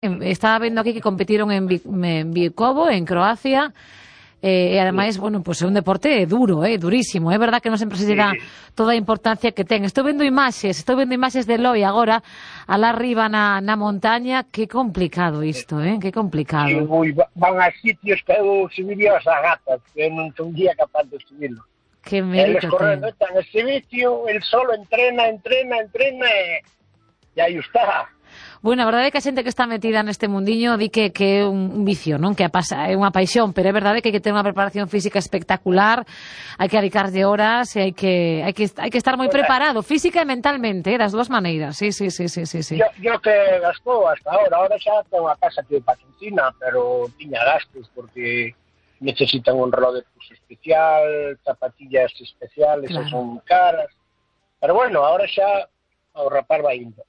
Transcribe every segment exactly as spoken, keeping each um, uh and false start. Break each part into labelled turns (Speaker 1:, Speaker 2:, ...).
Speaker 1: Estaba vendo aquí que competiron en, en Bikovo, en Croacia, eh, e ademais, bueno, pues é un deporte duro, eh, durísimo. É verdad que non sempre se lle dá toda a importancia que ten. Estou vendo imaxes, estou vendo imaxes de Eloi agora, alá arriba na, na montaña. Que complicado isto, eh, que complicado.
Speaker 2: Sí, ui, van a sitios que eu subiría as agatas, que non son día capaz de subirlo.
Speaker 1: Que mérito
Speaker 2: Eles correndo, están este vicio, el solo entrena, entrena, entrena, e, e aí está.
Speaker 1: Bueno, a verdade é que a xente que está metida neste mundiño di que, que é un vicio, non? Que a pasa, é unha paixón, pero é verdade que hai que ter unha preparación física espectacular, hai que dedicarlle horas e hai que, hai que, hai que estar moi preparado, física e mentalmente, eh, das dúas maneiras. Sí, sí, sí, sí, sí, sí.
Speaker 2: Yo, yo que gastou hasta ahora, ahora xa tengo a casa que patrocina, pero tiña gastos porque necesitan un reloj de pulso especial, zapatillas especiales, claro. Son caras. Pero bueno, ahora xa ao rapar vai indo.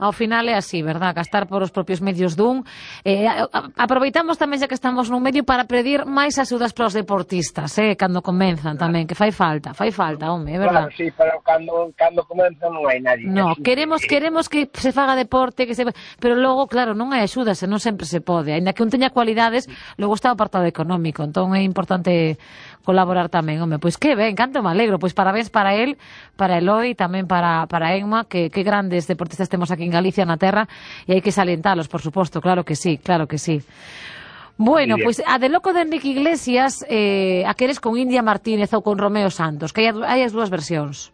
Speaker 1: Ao final é así, verdad? Gastar por os propios medios dun. Eh, aproveitamos tamén, xa que estamos nun medio, para pedir máis axudas para os deportistas, eh, cando comenzan tamén, que fai falta, fai falta, home, é verdad?
Speaker 2: Claro, sí, pero cando, cando comenzan non hai nadie.
Speaker 1: No, queremos, queremos que se faga deporte, que se... pero logo, claro, non hai axudas, e non sempre se pode. Ainda que un teña cualidades, logo está o apartado económico, entón é importante colaborar tamén, home. Pois que ben, canto me alegro, pois parabéns para él, para Eloi, tamén para, para Emma, que, que grandes deportistas temos aquí en Galicia, na terra, e hai que salientalos, por suposto, claro que sí, claro que sí. Bueno, pois pues, a de loco de Enrique Iglesias, eh, a queres con India Martínez ou con Romeo Santos, que hai, hai as dúas versións.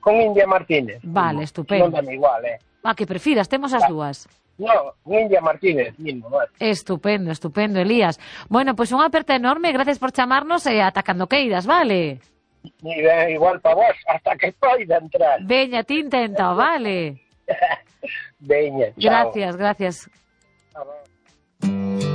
Speaker 2: Con India Martínez.
Speaker 1: Vale, estupendo.
Speaker 2: Non dame igual, eh.
Speaker 1: Ah, que prefiras, temos as dúas.
Speaker 2: No, India Martínez mismo, vale.
Speaker 1: Estupendo, estupendo, Elías. Bueno, pois pues unha aperta enorme, gracias por chamarnos e ata cando queiras, vale?
Speaker 2: Igual para vos, hasta que poida entrar.
Speaker 1: Veña, ti intenta, vale?
Speaker 2: Veña, chao.
Speaker 1: Gracias, gracias.